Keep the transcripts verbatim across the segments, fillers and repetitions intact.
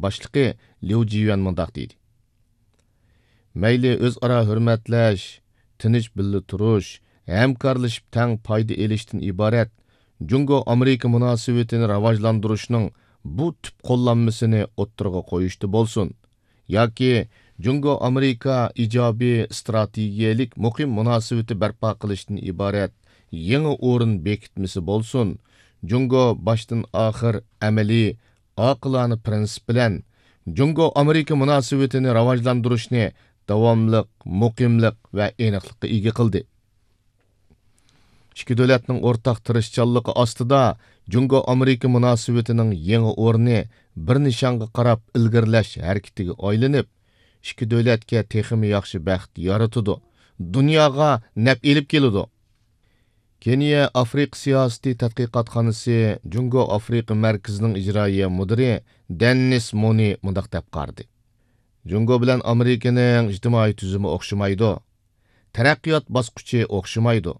باشلىقى ليۇ جىيۈەن مۇنداق دېدى: مەيلى ئۆزئارا ھۆرمەتلەش، تىنچ بىللە تۇرۇش، ھەمكارلىشىپ تەڭ پايدا ئېلىشتىن ئىبارەت جۇڭگو ئامېرىكا مۇناسىۋىتىنى راۋاجلاندۇرۇشنىڭ بۇ تۈپ قوللانمىسىنى ئوتتۇرىغا قويۇشتا بولسۇن، ياكى جۇڭگو ئامېرىكا ئىجابىي ئىستراتېگىيەلىك مۇقىم مۇناسىۋىتى بەرپا قىلىشتىن ئىبارەت يېڭى ئورۇن بېكىتمىسى بولسۇن، جۇڭگو باشتىن ئاخىر ئەمەلىي، ئاقىلانە پىرىنسىپ بىلەن جۇڭگو ئامېرىكا مۇناسىۋىتىنى راۋاجلاندۇرۇشنى داۋاملىق، مۇقىملىق ۋە ئېنىقلىققا ئىگە قىلدى. ئىككى دۆلەتنىڭ ئورتاق تىرىشچانلىقى ئاستىدا جۇڭگو ئامېرىكا مۇناسىۋىتىنىڭ يېڭى ئورنى بىر نىشانغا قاراپ ئىلگىرىلەش ھەرىكىتىگە ئايلىنىپ، ئىككى دۆلەتكە تېخىمۇ ياخشى بەخت يارىتىدۇ، دۇنياغا نەپ ئېلىپ كېلىدۇ. كېنىيە ئافرىقا سىياسىتى تەتقىقاتخانىسى جۇڭگو ئافرىقا مەركىزىنىڭ ئىجرائىيە مۇدىرى دېننىس مونى مۇنداق دەپ قارىدى: جۇڭگو بىلەن ئامېرىكىنىڭ ئىجتىمائىي تۈزۈمى ئوخشىمايدۇ، تەرەققىيات باسقۇچى ئوخشىمايدۇ.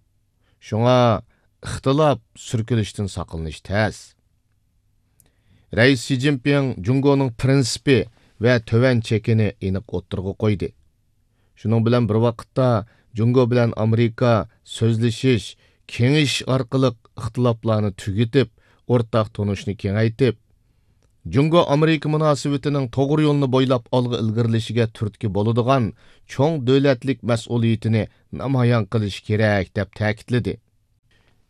شۇڭا ئىختىلاپ، سۈركىلىشتىن ساقلىنىش تەس. رەئىس شى جىنپىڭ جۇڭگونىڭ پىرىنسىپى ۋە تۆۋەن چېكىنى ئېنىق ئوتتۇرىغا قويدى. شۇنىڭ بىلەن بىر ۋاقىتتا، جۇڭگو بىلەن ئامېرىكا سۆزلىشىش، كېڭىشىش ئارقىلىق ئىختىلاپلارنى تۈگىتىپ، ئورتاق تونۇشنى كېڭەيتىپ، جۇڭگو ئامېرىكا مۇناسىۋىتىنىڭ توغرا يولنى بويلاپ ئالغا ئىلگىرىلىشىگە تۈرتكە بولىدىغان چوڭ دۆلەتلىك مەسئۇلىيىتىنى نامايان قىلىشى كېرەك، دەپ تەكىتلىدى.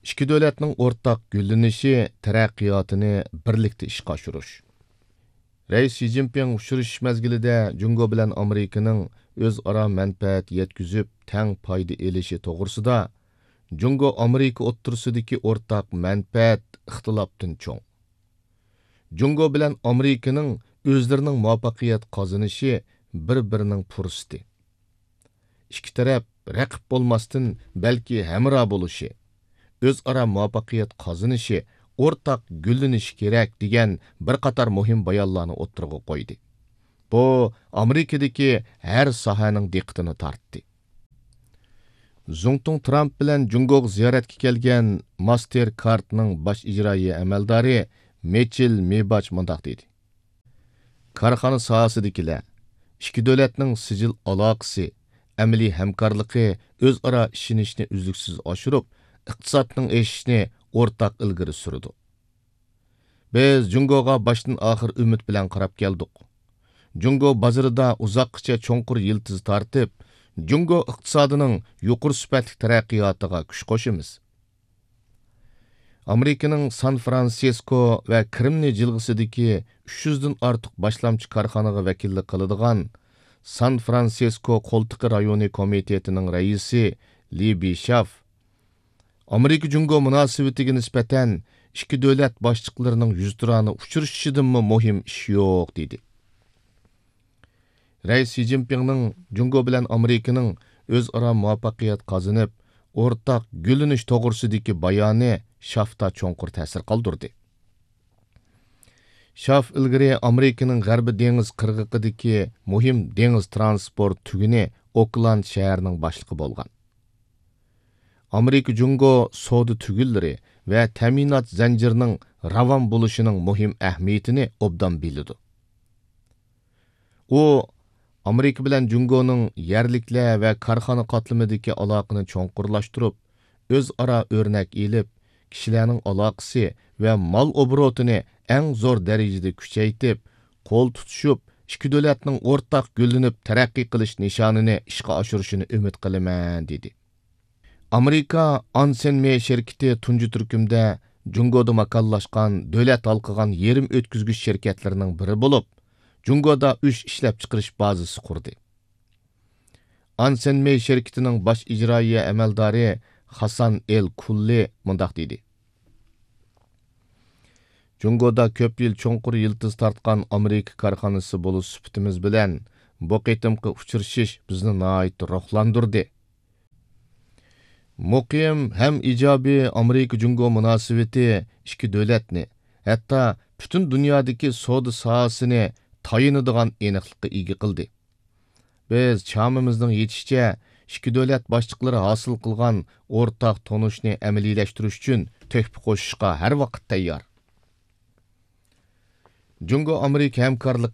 ئىككى دۆلەتنىڭ ئورتاق گۈللىنىشى، تەرەققىياتىنى بىرلىكتە ئىشقا ئاشۇرۇش. رەئىس شى جىنپىڭ ئۇچرىشىش مەزگىلىدە جۇڭگو بىلەن ئامېرىكىنىڭ ئۆزئارا مەنپەئەت يەتكۈزۈپ، تەڭ پايدا ئېلىشى توغرىسىدا، جۇڭگو ئامېرىكا ئوتتۇرىسىدىكى ئورتاق مەنپەئەت ئىختىلاپتىن چوڭ. جۇڭگو بىلەن ئامېرىكىنىڭ ئۆزلىرىنىڭ مۇۋەپپەقىيەت قازىنىشى بىر-بىرىنىڭ پۇرسىتى. ئىككى تەرەپ رەقىب بولماستىن، بەلكى ھەمراھ بولۇشى، ئۆزئارا مۇۋەپپەقىيەت قازىنىشى، ئورتاق گۈللىنىشى كېرەك، دېگەن بىر قاتار مۇھىم بايانلارنى ئوتتۇرىغا قويدى. بۇ ئامېرىكىدىكى ھەر ساھەنىڭ دىققىتىنى تارتتى. زۇڭتۇڭ ترامپ بىلەن جۇڭگوغا زىيارەتكە كەلگەن ماستېر كارتنىڭ باش ئىجرائىيە ئەمەلدارى مېچىل مېباچ مۇنداق دېدى: كارخانا ساھەسىدىكىلەر، ئىككى دۆلەتنىڭ سىجىل ئالاقىسى، ئەمەلىي ھەمكارلىقى ئۆزئارا ئىشىنىشنى ئۈزلۈكسىز ئاشۇرۇپ، ئىقتىسادنىڭ ئېشىشىنى ئورتاق ئىلگىرى سۈرىدۇ. بىز جۇڭگوغا باشتىن ئاخىر ئۈمىد بىلەن قاراپ كەلدۇق. جۇڭگو بازىرىدا ئۇزاققىچە چوڭقۇر يىلتىز تارتىپ، جۇڭگو ئىقتىسادىنىڭ يۇقىرى سۈپەتلىك تەرەققىياتىغا كۈچ قوشىمىز. ئامېرىكىنىڭ سان فرانسىسكو ۋە كرېمنىي جىلغىسىدىكى ئۈچ يۈزدىن ئارتۇق باشلامچى كارخانىغا ۋەكىللىك قىلىدىغان سان فرانسىسكو قولتۇقى رايونى كومىتېتىنىڭ رەئىسى لى بىشاف، ئامېرىكا جۇڭگو مۇناسىۋىتىگە نىسبەتەن ئىككى دۆلەت باشلىقلىرىنىڭ يۈزتۇرانە ئۇچرىشىشىدىنمۇ مۇھىم ئىش يوق، دېدى. رەئىس شى جىنپىڭنىڭ جۇڭگو بىلەن ئامېرىكىنىڭ ئۆزئارا مۇۋەپپەقىيەت قازىنىپ، ئورتاق گۈللىنىش توغرىسىدىكى بايانى شافتا چوڭقۇر تەسىر قالدۇردى. شاف ئىلگىرى ئامېرىكىنىڭ غەربىي دېڭىز قىرغىقىدىكى مۇھىم دېڭىز ترانسپورت تۈگۈنى ئوكلاند شەھىرىنىڭ باشلىقى بولغان. ئامېرىكا جۇڭگو سودا تۈگۈنلىرى ۋە تەمىنات زەنجىرىنىڭ راۋان بولۇشىنىڭ مۇھىم ئەھمىيىتىنى ئوبدان بىلىدۇ. ئۇ ئامېرىكا بىلەن جۇڭگونىڭ يەرلىكلەر ۋە كارخانا قاتلىمىدىكى ئالاقىنى چوڭقۇرلاشتۇرۇپ، ئۆزئارا ئۆرنەك ئېلىپ، كىشىلەرنىڭ ئالاقىسى ۋە مال ئوبوروتىنى ئەڭ زور دەرىجىدە كۈچەيتىپ، قول تۇتۇشۇپ، ئىككى دۆلەتنىڭ ئورتاق گۈللىنىپ تەرەققىي قىلىش نىشانىنى ئىشقا ئاشۇرۇشىنى ئۈمىد قىلىمەن، دېدى. ئامېرىكا ئانسېن مېي شىركىتى تۇنجى تۈركۈمدە جۇڭگودا ماكانلاشقان دۆلەت ھالقىغان يېرىم ئۆتكۈزگۈچ شىركەتلىرىنىڭ بىرى بولۇپ، جۇڭگودا ئۈچ ئىشلەپچىقىرىش بازىسى قۇردى. ئانسېن مېي شىركىتىنىڭ باش ئىجرائىيە ئەمەلدارى خاسان ئېل كۇللى مۇنداق دېدى: جۇڭگودا كۆپ يىل چوڭقۇر يىلتىز تارتقان ئامېرىكا كارخانىسى بولۇش سۈپىتىمىز بىلەن، بۇ قېتىمقى ئۇچرىشىش بىزنى ناھايىتى روھلاندۇردى. مۇقىم ھەم ئىجابىي ئامېرىكا جۇڭگو مۇناسىۋىتى ئىككى دۆلەتنى، ھەتتا پۈتۈن دۇنيادىكى سودا ساھەسىنى تايىنىدىغان ئېنىقلىققا ئىگە قىلدى. بىز چامىمىزنىڭ يېتىشىچە ئىككى دۆلەت باشلىقلىرى ھاسىل قىلغان ئورتاق تونۇشنى ئەمەلىيلەشتۈرۈش ئۈچۈن تۆھپە قوشۇشقا ھەر ۋاقىت تەييار. جۇڭگو ئامېرىكا ھەمكارلىقى